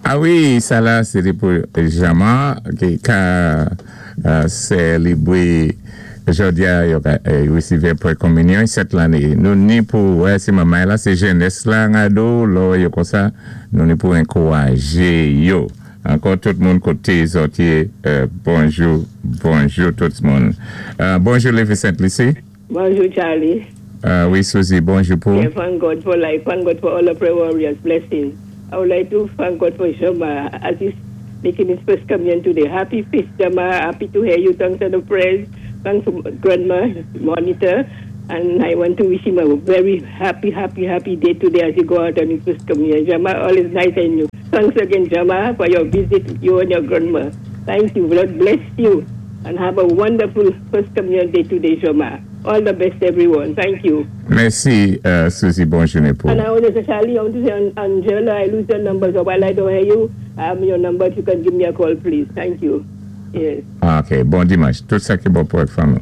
A wi, sa la, sété pou Jama, ki ka sélébwé jòdi-a, yo ka wésivé pwé konminyon 7 lanné. Nou ni pou, wè, sé manmay la, sé jènès la an ado, lò yo konsa, nou ni pou ankouwajé yo. Ankò tout moun koté zòt yé, bonjou, bonjou tout moun. Bonjou Lévi Sainte-Lucie. Bonjou, Charlie. Wi, Suzy, bonjou pou. Yeah, thank God for life. Thank God for all the prayer warriors. Blessings. I would like to thank God for Jama as he's making his first communion today. Happy feast, Jama. Happy to hear you. Thanks for the prayers. Thanks to Grandma, Monitor. And I want to wish him a very happy, happy, happy day today as he go out on his first communion. Jama, all is nice and you. Thanks again, Jama, for your visit, you and your grandma. Thank you. God bless you. And have a wonderful first communion day today, Jama. All the best, everyone. Thank you. Mèsi, Suzy, bon jounen pou. And I want to say, Charlie, I want to say, Angela, I lose your number, so while I don't hear you, I have your number. If you can give me a call, please. Thank you. Yes. Ok, bon dimanch. Tout sa ki bon pou ak fanmi.